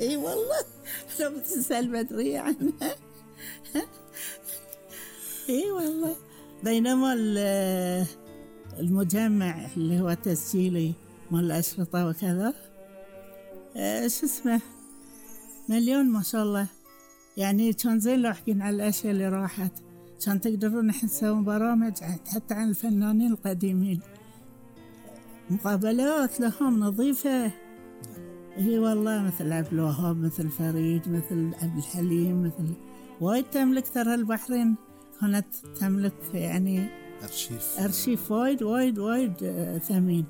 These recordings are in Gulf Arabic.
اي والله لو بتسأل بدري عنها. اي والله. بينما المجمع اللي هو تسجيلي مال الأشرطة وكذا، شو اسمه، مليون ما شاء الله. يعني كان زين لو حكينا على الأشياء اللي راحت، كان تقدرون نحن نسوي برامج حتى عن الفنانين القديمين، مقابلات لهم نظيفة. هي والله مثل عبد الوهاب، مثل فريد، مثل عبد الحليم، مثل وايد تملك. ترى البحرين كانت تملك يعني أرشيف وايد وايد وايد ثمين.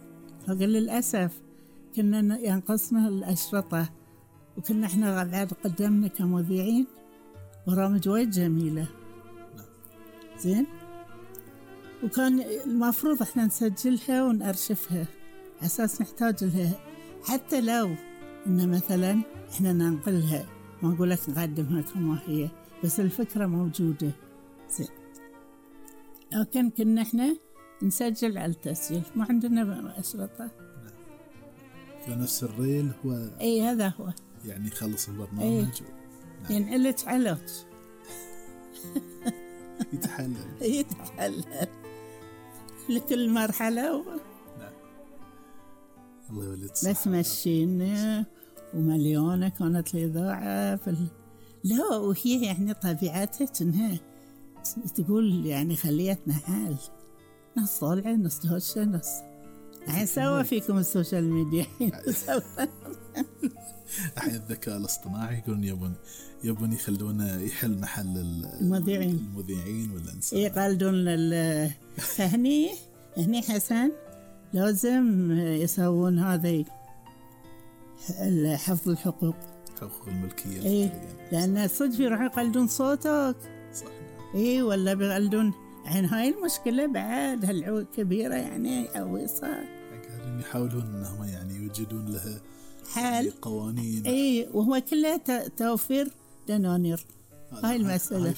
فقال للأسف كنا ينقصنا الأشرطة، وكنا احنا بعد قدمنا كمذيعين برامج وايد جميلة. زين. وكان المفروض احنا نسجلها ونأرشفها أساس نحتاج لها، حتى لو إن مثلا احنا ننقلها، ما نقول لك نقدمها كما هي، بس الفكرة موجودة. زين. لكن كنا احنا نسجل على التسجيل، ما عندنا أشرطة. فنفس الريل هو اي هذا هو يعني خلص البرنامج. نعم. ينعلج علوج. يتحلل لكل مرحلة نعم. الله يولد بس مشينا ومليونة كانت الإذاعة لا، وهي يعني طبيعتها إنها تقول يعني خليتنا حال، ناس طالعة ناس تهشة ناس الحين سوا فيكم السوشيال ميديا. الحين الذكاء الاصطناعي يقولون يبون يخلونه يحل محل المذيعين والإنسان. يقلدون فهني حسن لازم يسوون هذا حفظ الحقوق، حقوق الملكية. لأن صدق يروحوا يقلدون صوتك. صح. ولا بيقلدون. عن هاي المشكلة بعد هالعود كبيرة يعني أو صار. قاعدين يحاولون إنهم يعني يوجدون لها حل قوانين. وهو كلها توفير دنانير. هاي المسألة.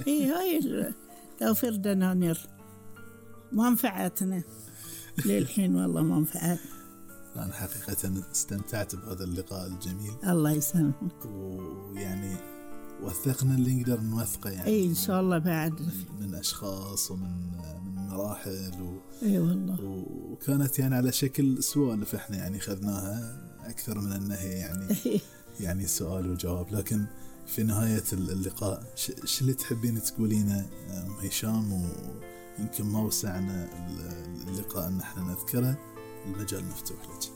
هاي توفير دنانير. منفعتنا للحين والله منفعت. أنا حقيقة استمتعت بهذا اللقاء الجميل. الله يسلمك. ويعني وثقنا اللي نقدر نوثقه يعني. إن شاء الله بعد من أشخاص ومن مراحل والله. وكانت يعني على شكل سوالف احنا يعني خذناها أكثر من أنها يعني يعني سؤال وجواب. لكن في نهاية اللقاء شو اللي تحبين تقولينه هشام؟ ويمكن ما وسعنا اللقاء أن احنا نذكره، المجال مفتوح لك.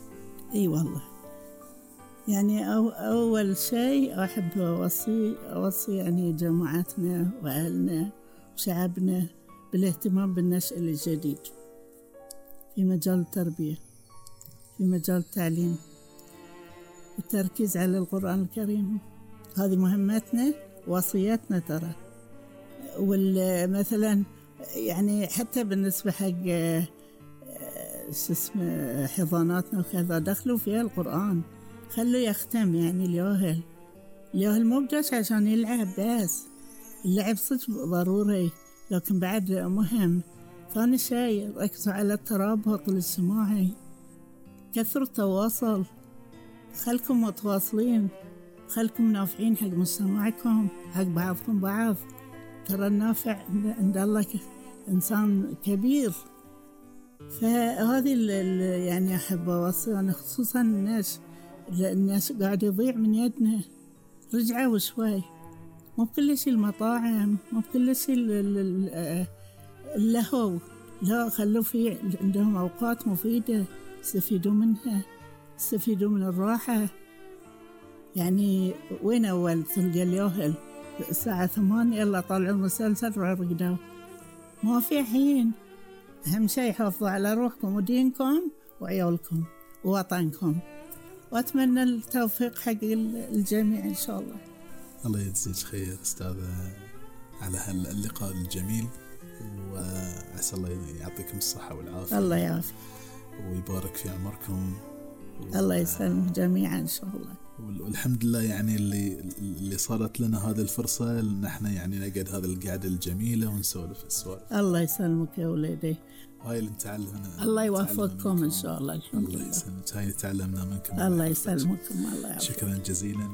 والله يعني أول شيء أحب أوصي يعني جماعتنا وأهلنا وشعبنا بالاهتمام بالنشء الجديد في مجال التربية، في مجال التعليم، التركيز على القرآن الكريم. هذه مهمتنا وصيتنا ترى. مثلا يعني حتى بالنسبة حق حضاناتنا وكذا دخلوا فيها القرآن، خلوا يختم يعني الياهل مو بس عشان يلعب بس، اللعب صدق ضروري لكن بعد مهم. ثاني شيء ركزوا على الترابط الاجتماعي، كثروا التواصل، خلكم متواصلين، خلكم نافعين حق مجتمعكم حق بعضكم بعض. ترى النافع عند الله إنسان كبير. فهذه يعني أحب أوصي أنا خصوصا الناس قاعد يضيع من يدنا. رجعوا شوي، مو بكل شيء المطاعم، مو بكل شيء اللهو، لا خلوا في عندهم أوقات مفيدة يستفيدوا منها، يستفيدوا من الراحة. يعني وين أول تلقى اليوهل الساعة 8 يلا طلعوا المسلسل رقدوا، ما في حين. أهم شيء حافظوا على روحكم ودينكم وعيالكم ووطنكم، وأتمنى التوفيق حق الجميع إن شاء الله. الله يجزيك خير أستاذة على هاللقاء الجميل، وعسى الله يعطيكم الصحة والعافية. الله يعافيك ويبارك في عمركم. الله يسلمك جميعا إن شاء الله. والحمد لله يعني اللي صارت لنا هذه الفرصة إن احنا يعني نقعد هذا القعدة الجميلة ونسولف السوالف. الله يسلمك يا ولدي. هاي اللي نتعلمنا. الله يوفقكم إن شاء الله. الحمد لله. الله يسلمك. هاي تعلمنا منكم. الله يسلمكم. الله يعافيك. شكرا جزيلا.